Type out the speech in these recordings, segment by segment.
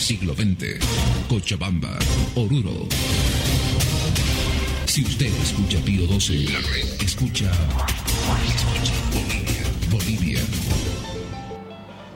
Siglo XX, Cochabamba, Oruro. Si usted escucha Pío 12, la red escucha. Escucha Bolivia, Bolivia.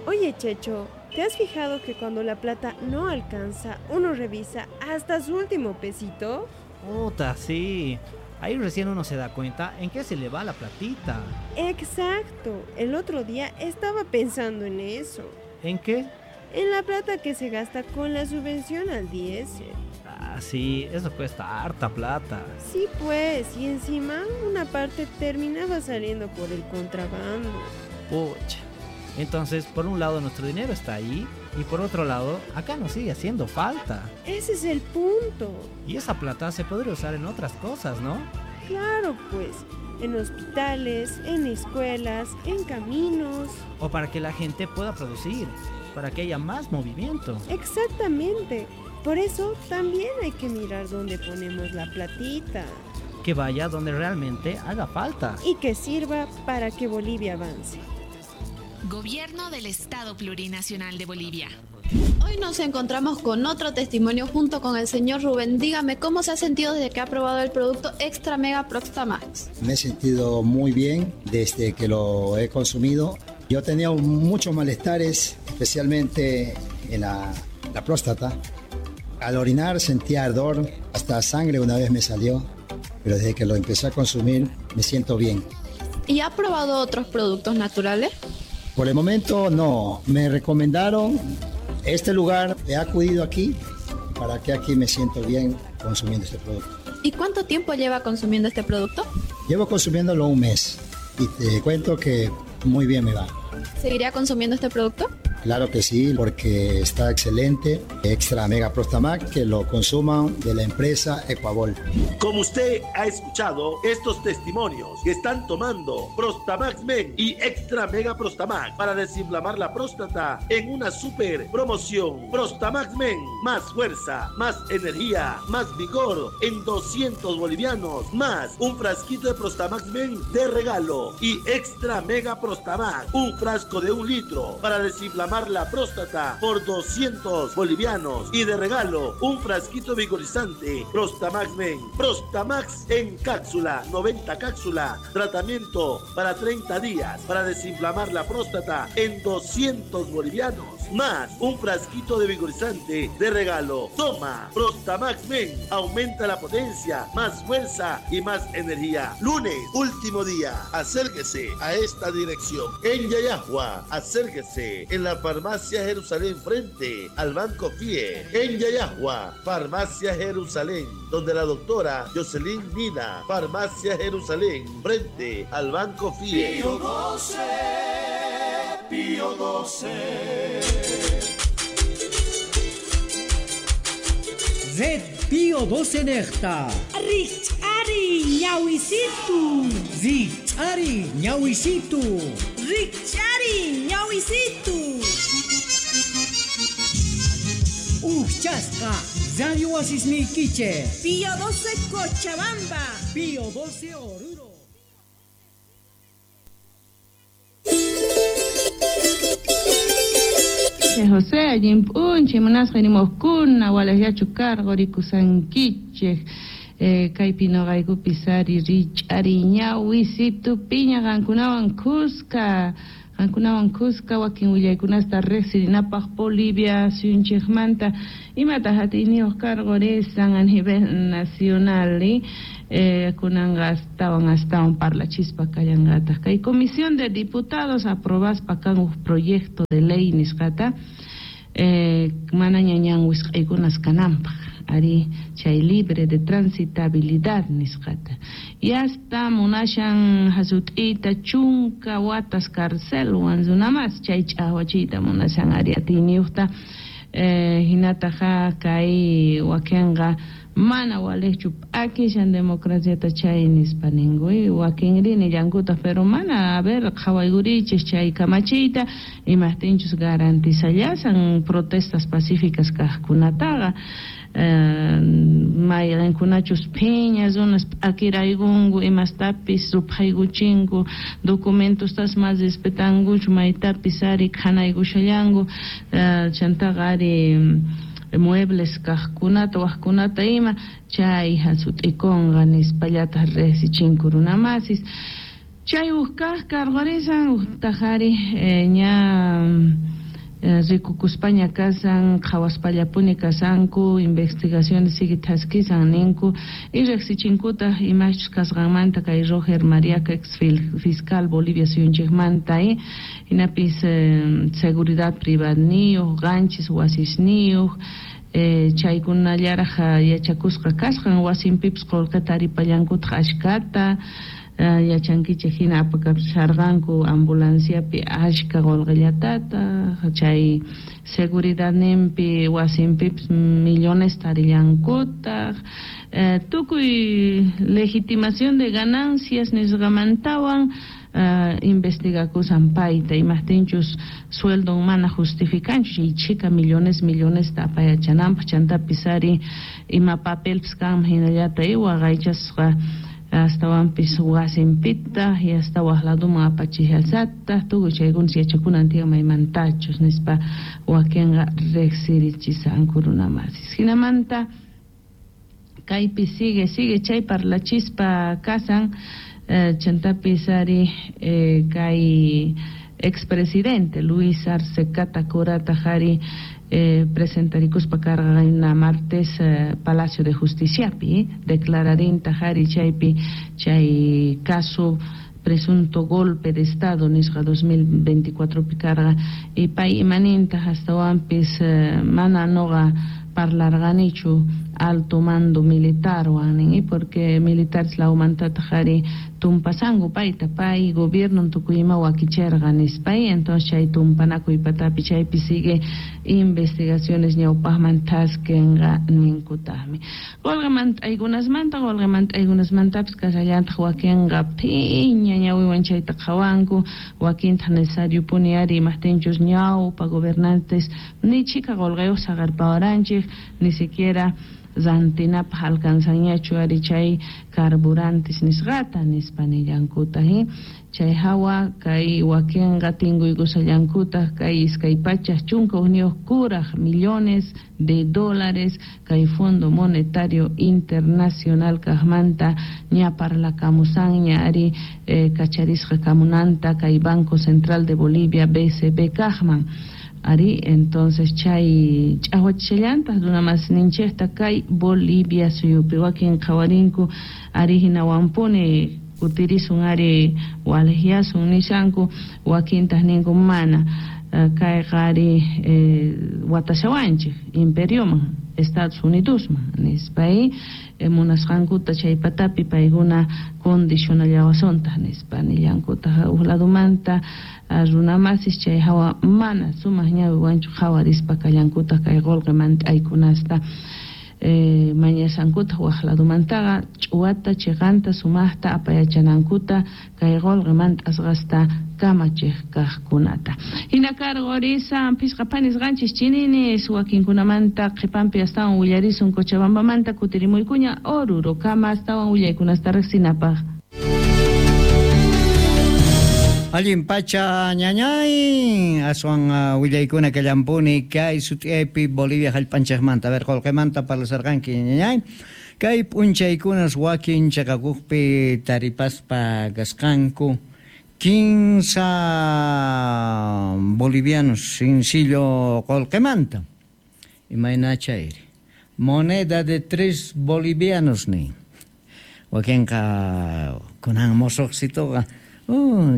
Oye, Checho, ¿te has fijado que cuando la plata no alcanza, uno revisa hasta su último pesito? Puta, sí. Ahí recién uno se da cuenta en qué se le va la platita. Exacto. El otro día estaba pensando en eso. ¿En qué? En la plata que se gasta con la subvención al diésel. Ah, sí, eso cuesta harta plata. Sí, pues, y encima una parte terminaba saliendo por el contrabando. Pucha. Entonces, por un lado nuestro dinero está ahí y por otro lado, acá nos sigue haciendo falta. Ese es el punto. Y esa plata se podría usar en otras cosas, ¿no? Claro, pues, en hospitales, en escuelas, en caminos. O para que la gente pueda producir, para que haya más movimiento. Exactamente. Por eso también hay que mirar dónde ponemos la platita. Que vaya donde realmente haga falta. Y que sirva para que Bolivia avance. Gobierno del Estado Plurinacional de Bolivia. Hoy nos encontramos con otro testimonio junto con el señor Rubén. Dígame, ¿cómo se ha sentido desde que ha probado el producto Extra Mega Prostamax? Me he sentido muy bien desde que lo he consumido. Yo tenía muchos malestares, especialmente en la próstata. Al orinar sentía ardor, hasta sangre una vez me salió, pero desde que lo empecé a consumir me siento bien. ¿Y ha probado otros productos naturales? Por el momento no, me recomendaron este lugar, he acudido aquí para que aquí me siento bien consumiendo este producto. ¿Y cuánto tiempo lleva consumiendo este producto? Llevo consumiéndolo un mes y te cuento que muy bien me va. ¿Seguiría consumiendo este producto? Claro que sí, porque está excelente. Extra Mega Prostamax, que lo consuman de la empresa Ecuabol. Como usted ha escuchado estos testimonios que están tomando Prostamax Men y Extra Mega Prostamax para desinflamar la próstata en una super promoción. Prostamax Men, más fuerza, más energía, más vigor en 200 bolivianos, más un frasquito de Prostamax Men de regalo y Extra Mega Prostamax, un frasco de 1 litro para desinflamar la próstata por 200 bolivianos y de regalo un frasquito vigorizante Prostamax Men. Prostamax en cápsula, 90 cápsula, tratamiento para 30 días para desinflamar la próstata en 200 bolivianos, más un frasquito de vigorizante de regalo. Toma Prostamax Men, aumenta la potencia, más fuerza y más energía. Lunes, último día, acérquese a esta dirección en Llallagua, acérquese en la Farmacia Jerusalén frente al Banco FIE en Llallagua, Farmacia Jerusalén, donde la doctora Jocelyn Nina, Farmacia Jerusalén frente al Banco FIE. Pío 12, Pío 12. Red Pío 12 Necta. Richari ñawisitu. Richari ñawisitu. Richari ñawisitu. Uchasqa Radio Wasisniykiche. Pío 12 Cochabamba. Pío 12 Oruro. José, allimp'unchik munasqa rimuqkuna walallachu karqu rikusankichik kaypi noqaykupi sari rich'ari ñawisitu piña qankunawan kuska wakin willaykunasta riqsirinapaq Bolivia suyunchikmanta imataq atiyniyuq karqu risan a nivel nacional kunanqa astawan parlachispa kallanqataq kay Comisión de Diputados aprobaspa kan uj proyecto de ley nisqata manaña ñan wisq'aykunas kananpaq ari chay libre de transitabilidad nisqata y hasta munashan hasut'iyta chunka watas carcelwan runamas chay ch'aqwachiyta munashan ari atiyniyuqta hinataqa kay wakinqa Mana walejchu p'akishan democraciata chay nispa ninku, wakinri nillankutaq, pero mana, a ver, qhawaykurichis chay kamachiyta, imajtinchus garantizallasan protestas pacíficas kajkunataqa, mayqinkunachus phiña runas p'akiraykunku imastapis ruphaykuchinku, documentostas mas respetankuchu, maytapis ari khanaykushallanku, chantaqa ari muebles kajkunata wajkunata ima chay jasut'ikunqa nispallataq riqsichinku runamasis. Chay uj kaj karqurisan ujtaq ari ña rikukuspaña kasan, qhawaspallapuni kasanku, investigaciones sigue thaskisan ninku, y riqsichinkutaq imachus kasqanmanta kay Roger Mariaca, ex fiscal Bolivia suyunchikmanta, hinapis seguridad privadniyuq, qanchis wasisniyuq, chaykunallaraq yachakusqa kasqan, wasinpipis qullqita taripallankutaq ashkata, yachankichik hina apakapusharqanku ambulanciapi ashka qullqillatata, chay seguridadninpi wasinpipis millones tarillankutaq, tukuy legitimación de ganancias nisqamantawan investigakusan payta, imajtinchus sueldon mana justificanchu chay chhika millones millonesta apayachananpaq, chantapis ari ima papelpis kanman hinallata waqaychasqa astawanpis wasinpita y hasta waj laduman apachishasataq, tukuy chaykunas yachakunan tiyan maymantachus nispa wakinqa riqsirichisanku runamasis. Hinamanta kaypi sigue sigue chay parlachispa kasan, chantapis ari kay expresidente Luis Arce Catacurata ari presentarikuspa karqa martes Palacio de Justiciapi, declararinta ari chaypi chay caso presunto golpe de Estado nisqa 2024 pi karqa, y pay imaninta astawanpis mana noqa parlarqanichu alto mando militar wan, porque militares lawmantataq ari tumpasanku payta, pay gobierno tukuy ima wakicherqa nispa, entonces chay tumpanakuy patapi chaypi sigue investigaciones ñawpaqman thaskenqa ninkutaqmi. Qullqimant'aykunasmanta, qullqimant'aykunasmantapis kasallantaq wakinqa phiña ñawiwan chayta qhawanku, wakintaq necesariopuni ari imajtinchus ñawpa gobernantes ni chhika qullqiyuq saqerpawaranchik, ni siquiera rantinapaq alcanzanñachu ari chay carburantes nisqata nispa nillankutaq, chay hawa kay wakinqa tinkuykusallankutaq kay 241 kuraj millones de dólares kay Fondo Monetario Internacional kajmanta ña parlakamusanña ari kacharisqa kamunanta kay Banco Central de Bolivia BCB kajman. Ari, entonces chay ch'awachishallantaq runamasninchikta kay Bolivia suyupi wakin qhawarinku ari hinawanpuni kutirisun ari walejyasun nishanku, wakintaq ninku mana kayqa ari watashawanchik imperioman Estados Unidosman nispa, munasqankuta chay patapi paykuna condicionallawasuntaq nispa nillankutaq. Uj ladumanta runamasis chay hawa mana sumaq ñawiwanchu qhawarispa kallankutaq kay qullqi mant'aykunasta mañasankutaq waj ladumantaqa ch'uwata chiqanta sumaqta apayachanankuta kay qullqi mant'asqasta kamachiq kajkunata. Hina karqurisan phisqa phanisqanchis chininis wakinkunamanta qhipanpi astawan willarisun Cochabambamanta kutirimuykuña Orurokama astawan willaykunasta riqsinapaq. Allin pacha ñañay, aswan willaykuna kallampuni kay sut'iaypi Bolivia hallp'anchikmanta. A ver, qullqimanta parlasarqanki ñañay. Kay p'unchaykunas wakin chaqakuqpi taripaspa kasqanku 15 bolivianos sencillo qullqimanta. Imayna chayri? Moneda de 3 bolivianos ni. Wakinqa kunan mosuqsituqa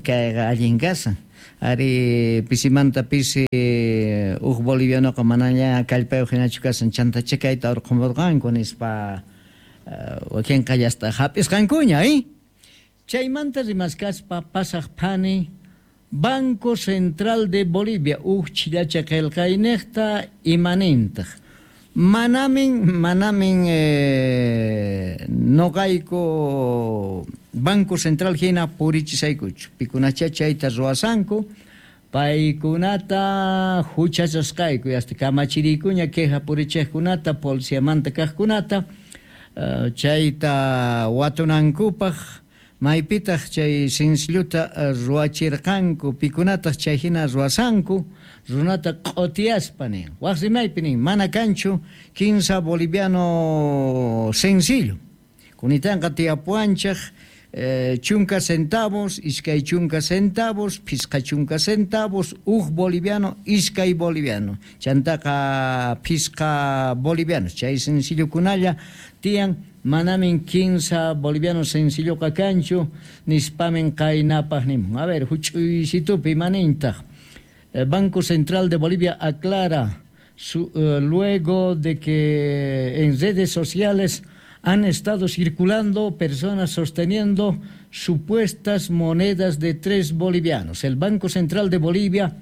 kayqa allin kasan. Ari pisimanta pisi uj bolivianoqa manaña kallpayuq hinachu kasan, chantacha kayta urqumurqanku nispa wakinqa llasta hap'isqankuña, Chaymanta rimaskaspa pasaq phani Banco Central de Bolivia uj chillacha qillqayniqta imanintaq. Manamin noqayku Banco Central hina purichisaykuchu. Pikunacha chayta ruwasanku, paykunata huchachasqayku, hasta kamachiriykuña queja purichiqkunata, policiamanta kaqkunata, chayta watunankupaq, maypitaq chay sencilluta ruwachirqanku, pikunataq chay hina ruwasanku, runata q'otiyaspa nin. Waq rimaypi nin, mana kanchu 15 boliviano sencillo. Kunitanqa tiyapuwanchaq 10 centavos, 20 centavos, 50 centavos, 1 boliviano, 2 boliviano. Chantaqa 5 bolivianos. Chay sencillokunalla tiyan, manamin 15 boliviano sencilloqa kanchu, nispamin qaynapaq nimun. A ver, huch'uysitupi manintaq. Banco Central de Bolivia aclara luego de que en redes sociales han estado circulando personas sosteniendo supuestas monedas de 3 bolivianos. El Banco Central de Bolivia,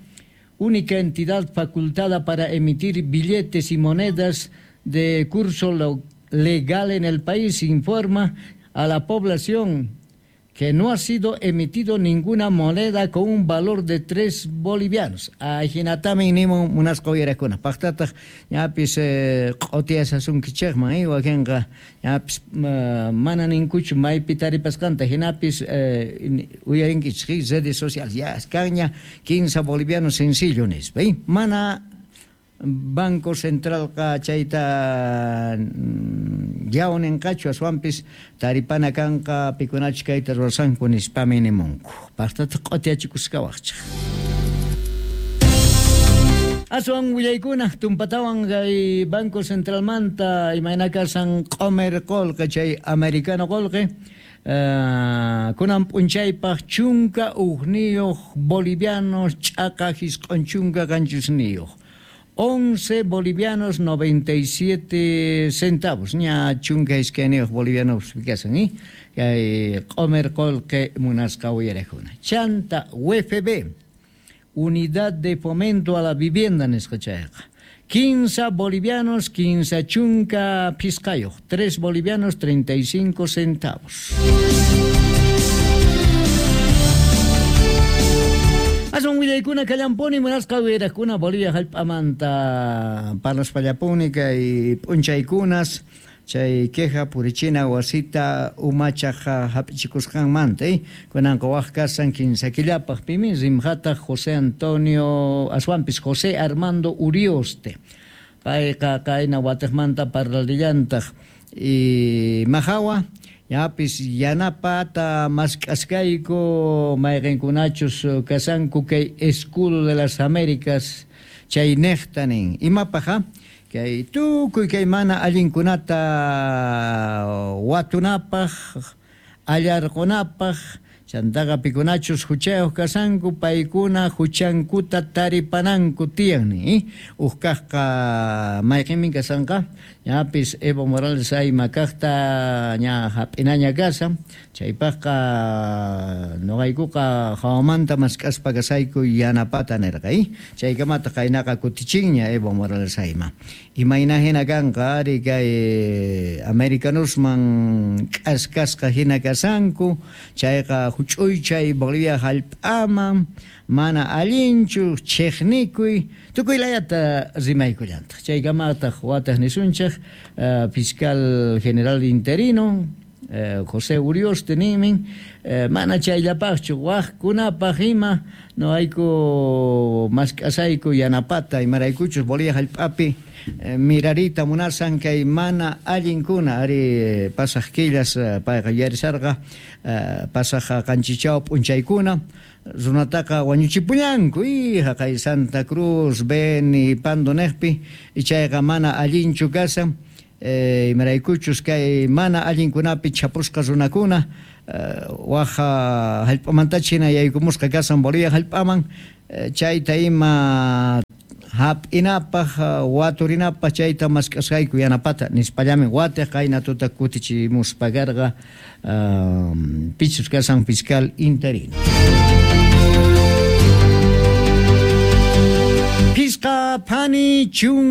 única entidad facultada para emitir billetes y monedas de curso legal en el país, informa a la población que no ha sido emitido ninguna moneda con un valor de 3 bolivianos. Ajinatamin nimun munasqa uyarakuna. Paqtataq ñapis q'otiyasasunkichikman, wakinqa ñapis mana ninkuchu maypi taripasqanta, hinapis uyarinkichik redes sociales. Ya kanña 15 bolivianos sencillo nispa. Mana Banco Centralqa chayta yawninqachu, aswanpis taripana kanqa pikunachu kayta ruwasanku nispami nimunku. Paqtataq q'otiyachikusqawaqchik. Aswan willaykuna tumpatawan kay Banco Centralmanta imayna kasan q'omer qolqe chay americano qolqe kunan p'unchaypaq 11 bolivianos ch'aqa 97. 11 bolivianos 97 centavos. Ña chunka iskayniyuq bolivianos kasan, kay q'omer qolqe munasqa uyarikuna. Chanta UFB, Unidad de Fomento a la Vivienda nisqa chayqa. 15 bolivianos 15.5, 3 bolivianos 35 centavos. Asun willaykuna kallampuni munasqa uyarakuna Bolivia hallp'amanta parlaspallapuni kay p'unchaykunas chay queja purichina wasita umachaq hap'ichikusqanmanta kunanqa waq kasan 15 killapaq pimi rimqataq José Antonio aswanpis José Armando Urioste payqa qayna watiqmanta parlarillantaq y mahawa yapis yanapata mask'askayku mayqinkunachus kasanku kay Escudo de las Américas chay neqta nin imapaq kay tukuy kay mana allinkunata watunapaq allarqunapaq chantaqa pikunachus huchayuq kasanku paykuna huchankuta taripananku tiyan ni uj kaqqa mayqinmin kasanqa ñapis Evo Morales ayma kaqta ña hap'inaña kasan chaypaqqa noqaykuqa hawamanta mask'aspa kasayku yanapata nirqa chaykamata qaynaqa kutichinña Evo Morales ayma imayna hina kanqa ari kay americanosman k'askasqa hina kasanku chayqa huch'uychay Bolivia hallp'aman mana allinchu chiqnikuy tukuy layata rimaykullantaq chaykamataq wataq nisunchik fiscal general interino José Urioste nimin mana chayllapaqchu waqkunapaq ima noqayku mask'asayku yanapata imaraykuchus Bolivia hallp'api mirarita munasan kay mana allinkuna ari pasaq killas payqa yuyarisarqa pasaq qanchichaw p'unchaykuna runataqa wañuchipullanku haqay Santa Cruz Beni Pando neqpi chayqa mana allinchu kasan imaraykuchus kay mana allinkunapi chapusqa runakuna waq hallp'amantacha hina yaykumusqa kasan Bolivia hallp'aman chayta ima hap'inapaq waturinapaq chayta mask'asqayku yanapata nispallamin watiq qayna tuta kutichimuspa karqa pichus kasan fiscal interino. Pisqa phani chun.